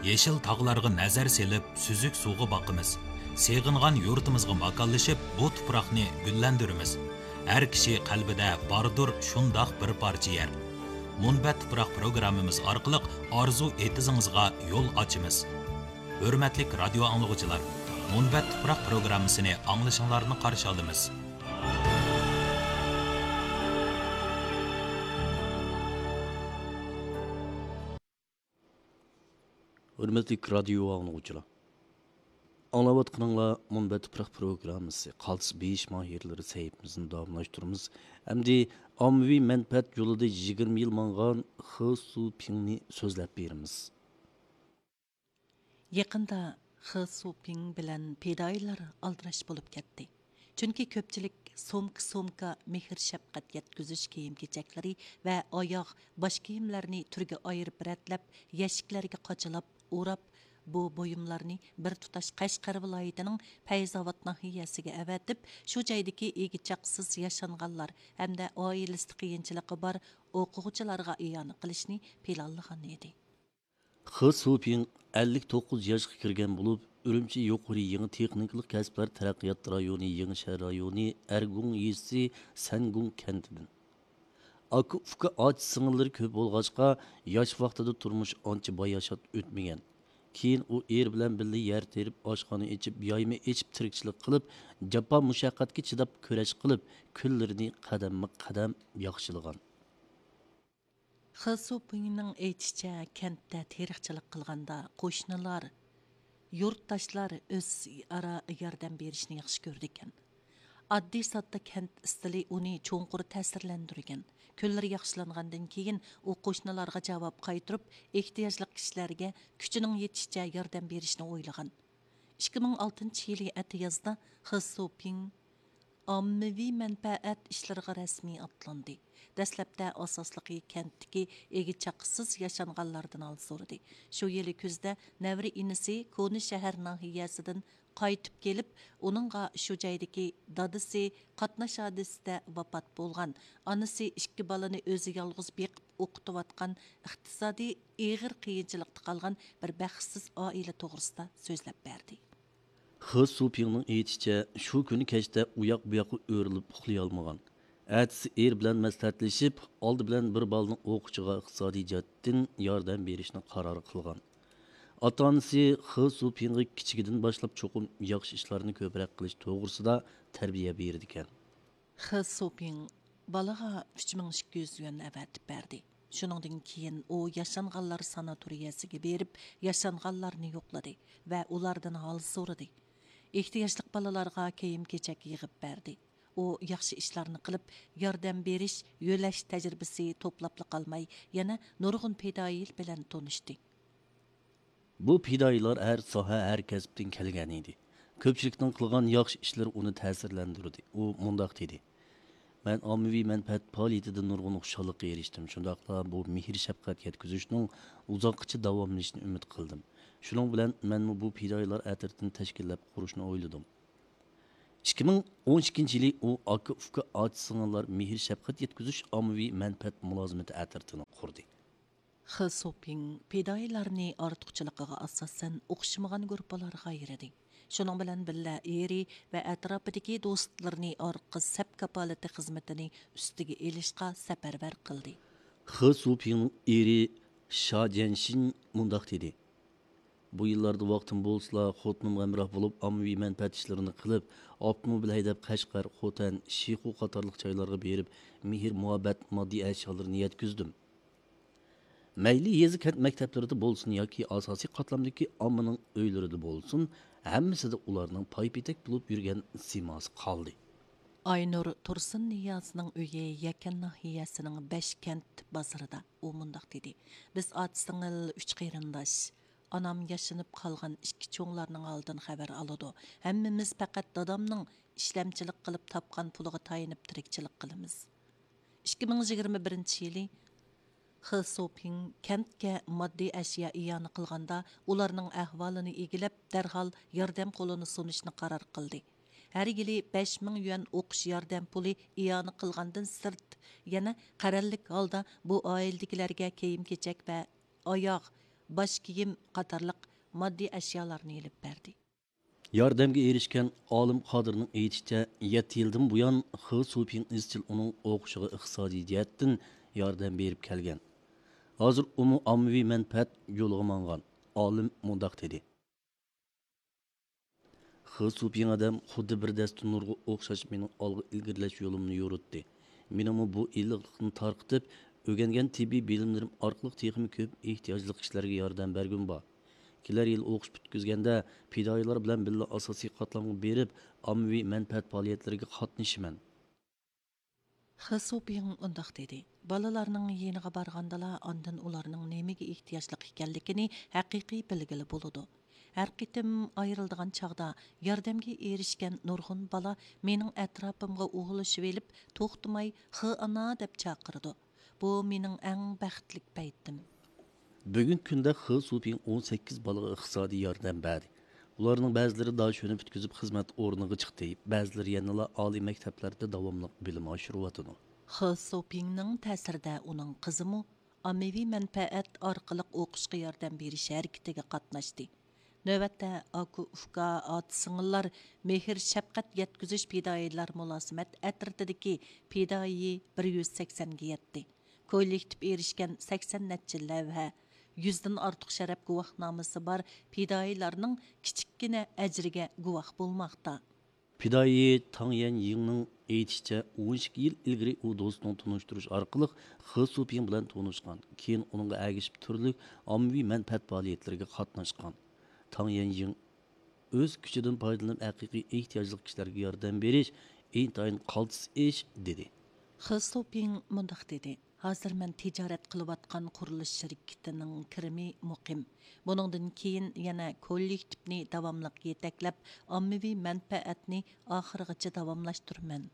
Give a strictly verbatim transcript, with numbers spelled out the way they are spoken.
يېشىل تاغلارغا نەزەر سېلىپ، سۈزۈك سۇغا باقىمىز. سېغىنغان يۇرتىمىزغا ماكانلىشىپ، بۇ تۇپراقنى گۈللەندۈرىمىز. ھەر كىشى قەلبىدە باردۇر شۇنداق بىر پارچە يەر. مۇنبەت تۇپراق پروگراممىمىز ئارقىلىق ئارزۇ ئېتىزىڭىزغا يول ئاچىمىز. ھۆرمەتلىك رادىيو ئاڭلىغۇچىلار، مۇنبەت تۇپراق پروگراممىسىنى ئاڭلىشىڭلارنى قارشى ئالىمىز. ھۆرمەتلىك رادىيو ئاڭلىغۇچىلار، ئاڭلاۋاتقىنىڭلار مۇنبەت تۇپراق پروگراممىسى، قالتىس بېيىش ماھىرلىرى سەھىپىمىزنى داۋاملاشتۇرىمىز. ئەمدى ئاممىۋى مەنپەئەت يولىدا يىگىرمە يىل ماڭغان خې سۇپىڭنى سۆزلەپ بېرىمىز. يېقىندا خې سۇپىڭ بىلەن پىدائىيلار ئالدىراش بولۇپ كەتتى. چۈنكى كۆپچىلىك سومكا-سومكا مېھىر-شەپقەت يەتكۈزۈش كىيىم-كېچەكلىرى ۋە ئاياغ، باش كىيىملەرنى تۈرگە ئايرىپ رەتلەپ، يەشىكلەرگە قاچىلاپ ئوراپ، بۇ بۇيۇملارنى بىر تۇتاش قەشقەر ۋىلايىتىنىڭ پەيزاۋات ناھىيەسىگە ئەۋەتىپ، شۇ جايدىكى ئىگە-چاقىسىز ياشانغانلار ھەمدە ئائىلىسىدە قىيىنچىلىقى بار ئوقۇغۇچىلارغا ئىئانە قىلىشنى پىلانلىغان ئىدى. خې سۇپىڭ ئەللىك توققۇز ياشقا كىرگەن بولۇپ، ئۈرۈمچى يۇقىرى يېڭى تېخنىكىلىق كەسىپلەر تەرەققىيات رايونى يېڭى شەھەر رايونى ئەرگۇڭ يېزىسى سەنگۇڭ كەنتىدىن. ئاكا-ئۇكا، ئاچا-سىڭىللىرى كۆپ بولغاچقا، ياش ۋاقتىدا تۇرمۇش ئانچە باياشات ئۆتمىگەن. كېيىن ئۇ ئېرى بىلەن بىللە يەر تېرىپ، ئاشخانا ئېچىپ، يايما ئېچىپ تىرىكچىلىك قىلىپ، جاپا-مۇشەققەتكە چىداپ كۈرەش قىلىپ، كۈنلىرىنى قەدەممۇ قەدەم ياخشىلىغان. خې سۇپىڭنىڭ ئېيتىشىچە، كەنتتە تېرىقچىلىق قىلغاندا قوشنىلار، يۇرتداشلار ئۆزئارا ياردەم بېرىشنى ياخشى كۆرىدىكەن. ئاددىي-ساددا كەنت ئىستىلى ئۇنى چوڭقۇر تەسىرلەندۈرگەن. كۈنلىرى ياخشىلانغاندىن كېيىن، ئۇ قوشنىلارغا جاۋاب قايتۇرۇپ، ئېھتىياجلىق كىشىلەرگە كۈچىنىڭ يېتىشىچە ياردەم بېرىشنى ئويلىغان. ئىككى مىڭ ئالتىنچى يىلى ئەتىيازدا خې سۇپىڭ ئاممىۋى مەنپەئەت ئىشلىرىغا رەسمىي ئاتلاندى. دەسلەپتە ئاساسلىقى كەنتتىكى ئىگە-چاقىسىز ياشانغانلاردىن ھال سورىدى. شۇ يىلى كۈزدە نەۋرە ئىنىسى كونا شەھەر ناھىيەسىدىن قايتىپ كېلىپ، ئۇنىڭغا شۇ جايدىكى دادىسى قاتناش ھادىسىسىدە ۋاپات بولغان، ئانىسى ئىككى بالىنى ئۆزى يالغۇز بېقىپ ئوقۇتۇۋاتقان، ئىقتىسادىي ئېغىر قىيىنچىلىقتا قالغان بىر بەختسىز ئائىلە توغرىسىدا سۆزلەپ بەردى. خې سۇپىڭنىڭ ئېيتىشىچە، شۇ كۈنى كەچتە ئۇياق-بۇياققا ئۆرۈلۈپ ئۇخلىيالمىغان. ئەتىسى ئېرى بىلەن مەسلىھەتلىشىپ، ئالدى بىلەن بىر بالىنىڭ ئوقۇشىغا ئىقتىسادىي جەھەتتىن ياردەم بېرىشنى قارار قىلغان. ئاتا-ئانىسى خې سۇپىڭغا كىچىكىدىن باشلاپ چوقۇم ياخشى ئىشلارنى كۆپرەك قىلىش توغرىسىدا تەربىيە بېرىدىكەن. خې سۇپىڭ بالىغا ئۈچ مىڭ ئىككى يۈز يۈەن ئەۋەتىپ بەردى. شۇنىڭدىن كېيىن ئۇ ياشانغانلار ساناتورىيەسىگە بېرىپ، ياشانغانلارنى يوقلىدى ۋە ئۇلاردىن ھال سورىدى. ئېھتىياجلىق بالىلارغا كىيىم-كېچەك يىغىپ بەردى. ئۇ ياخشى ئىشلارنى قىلىپ، ياردەم بېرىش، يۆلەش تەجرىبىسى توپلاپلا قالماي، يەنە نۇرغۇن پىدائىيلار بىلەن تونۇشتى. بۇ پىدائىيلار ھەر ساھە، ھەر كەسىپتىن كەلگەن ئىدى. كۆپچىلىكنىڭ قىلغان ياخشى ئىشلىرى ئۇنى تەسىرلەندۈردى. ئۇ مۇنداق دېدى: مەن ئاممىۋى مەنپەئەت پائالىيىتىدىن نۇرغۇن خۇشاللىققا ئېرىشتىم، شۇنداقلا بۇ مېھىر-شەپقەت يەتكۈزۈشنىڭ ئۇزاققىچە داۋاملىشىشىنى ئۈمىد قىلدىم. شۇنىڭ بىلەن مەنمۇ بۇ پىدائىيلار ئەترىتىنى تەشكىللەپ قۇرۇشنى ئويلىدىم. ئىككى مىڭ ئون ئىككىنچى يىلى ئۇ ئاكا-ئۇكا، ئاچا-سىڭىللار مېھىر-شەپقەت يەتكۈزۈش ئاممىۋى مەنپەئەت مۇلازىمىتى ئەترىتىنى قۇردى. خې سۇپىڭ پىدائىيلارنى ئارتۇقچىلىقىغا ئاساسەن ئوخشىمىغان گۇرۇپپىلارغا ئايرىدى. شۇنىڭ بىلەن بىللە، ئېرى ۋە ئەتراپىدىكى دوستلىرىنى ئارقا سەپ كاپالىتى خىزمىتىنى ئۈستىگە ئېلىشقا سەپەرۋەر قىلدى. خې سۇپىڭنىڭ ئېرى شا جيەنشىن مۇنداق دېدى: بۇ يىللاردا ۋاقتىم بولسىلا، خوتۇنۇمغا ھەمراھ بولۇپ، ئاممىۋى مەنپەئەت ئىشلىرىنى قىلىپ، ئاپتوموبىل ھەيدەپ، قەشقەر، خوتەن، شىخۇ قاتارلىق جايلارغا بېرىپ، مېھىر-مۇھەببەت، ماددىي ئەشيالىرىنى يەتكۈزدۈم. مەيلى يېزا، كەنت مەكتەپلىرىدە بولسۇن ياكى ئاساسىي قاتلامدىكى ئاممىنىڭ ئۆيلىرىدە بولسۇن، ھەممىسىدە ئۇلارنىڭ پايپېتەك بولۇپ يۈرگەن سىيماسى قالدى. ئاينۇر تۇرسۇننىيازنىڭ ئۆيى يەكەن ناھىيەسىنىڭ بەشكەنت بازىرىدا. ئۇ مۇنداق دېدى: بىز ئاچا-سىڭىل، ئۈچ قېرىنداش. ئانام ياشىنىپ قالغان ئىككى چوڭلارنىڭ ھالىدىن خەۋەر ئالىدۇ. ھەممىمىز پەقەت دادامنىڭ ئىشلەمچىلىك قىلىپ تاپقان پۇلىغا تايىنىپ تىرىكچىلىك قىلىمىز. ئىككى مىڭ يىگىرمە بىرىنچى يىلى خې سوپىڭ كەنتكە ماددىي ئەشيا ئىئانە قىلغاندا، ئۇلارنىڭ ئەھۋالىنى ئىگىلەپ، دەرھال ياردەم قولىنى سۇنۇشنى قارار قىلدى. ھەر يىلى بەش مىڭ يۈەن ئوقۇش ياردەم پۇلى ئىئانە قىلغاندىن سىرت، يەنە قەرەللىك ھالدا بۇ ئائىلىدىكىلەرگە كىيىم-كېچەك ۋە ئاياغ، باش كىيىم قاتارلىق ماددىي ئەشيالارنى ئېلىپ بەردى. ياردەمگە ئېرىشكەن ئالىم قادىرنىڭ ئېيتىشىچە، يەتتە يىلدىن بۇيان خې سۇپىڭ ئىزچىل ئۇنىڭ ئوقۇشىغا ئىقتىسادىي جەھەتتىن ياردەم بېرىپ كەلگەن. ھازىر ئۇمۇ ئاممىۋى مەنپەئەت يولىغا ماڭغان. ئالىم مۇنداق دېدى. خې سۇپىڭ ئادەم خۇددى بىر دەستە نۇرغا ئوخشاش مېنىڭ ئالغا ئىلگىرىلەش يولۇمنى يورۇتتى. مېنىڭمۇ بۇ ئىللىقلىقنى تارقىتىپ، ئۆگەنگەن تېببىي بىلىملىرىم ئارقىلىق تېخىمۇ كۆپ ئېھتىياجلىق كىشىلەرگە ياردەم بەرگۈم بار. كېلەر يىلى ئوقۇش پۈتكۈزگەندە، پىدائىيلار بىلەن بىللە ئاساسىي قاتلامغا بېرىپ، ئاممىۋى مەنپەئەت پائالىيەتلىرىگە قاتنىشىمەن. خې سۇپىڭ مۇنداق دېدى: بالىلارنىڭ يېنىغا بارغاندىلا، ئاندىن ئۇلارنىڭ نېمىگە ئېھتىياجلىق ئىكەنلىكىنى ھەقىقىي بىلگىلى بولىدۇ. ھەر قېتىم ئايرىلىدىغان چاغدا، ياردەمگە ئېرىشكەن نۇرغۇن بالا مېنىڭ ئەتراپىمغا ئۇۋۇلىشىۋېلىپ، توختىماي «خې ئانا» دەپ چاقىرىدۇ. بۇ مېنىڭ ئەڭ بەختلىك پەيتىم. بۈگۈنكى كۈندە خې سۇپىڭ ئون سەككىز بالىغا ئىقتىسادىي ياردەم بەردى. ئۇلارنىڭ بەزىلىرى داشۆنى پۈتكۈزۈپ خىزمەت ئورنىغا چىقتى، بەزىلىرى يەنىلا ئالىي مەكتەپلەردە داۋاملىق بىلىم ئاشۇرۇۋاتىدۇ. خې سۇپىڭنىڭ تەسىرىدە ئۇنىڭ قىزىمۇ ئاممىۋى مەنپەئەت ئارقىلىق ئوقۇشقا ياردەم بېرىش ھەرىكىتىگە قاتناشتى. نۆۋەتتە ئاكا، ئۇكا، ئاتا، سىڭىللار مېھىر شەپقەت يەتكۈزۈش پىدائىيلار مۇلازىمەت ئەترىتىدىكى پىدائىي بىر يۈز سەكسەنگە يەتتى. كوللېكتىپ ئېرىشكەن سەكسەن نەچچە لەۋھە، يۈزدىن ئارتۇق شەرەپ گۇۋاھنامىسى بار پىدائىيلارنىڭ كىچىككىنە ئەجرىگە گۇۋاھ بولماقتا. پىدائىي تاڭ يەنيىڭنىڭ ئېيتىشىچە، ئون ئىككى يىل ئىلگىرى ئۇ دوستىنىڭ تونۇشتۇرۇشى ئارقىلىق خې سۇپىڭ بىلەن تونۇشقان، كېيىن ئۇنىڭغا ئەگىشىپ تۈرلۈك ئاممىۋى مەنپەئەت پائالىيەتلىرىگە قاتناشقان. تاڭ يەنيىڭ ئۆز كۈچىدىن پايدىلىنىپ، ھەقىقىي ئېھتىياجلىق كىشىلەرگە ياردەم بېرىش ئىنتايىن قالتىس ئىش، دېدى. خې سۇپىڭ مۇنداق دېدى: ھازىر مەن تىجارەت قىلىۋاتقان قۇرۇلۇش شىركىتىنىڭ كىرىمى مۇقىم. بۇنىڭدىن كېيىن يەنە كوللېكتىپنى داۋاملىق يېتەكلەپ، ئاممىۋى مەنپەئەتنى ئاخىرغىچە داۋاملاشتۇرىمەن.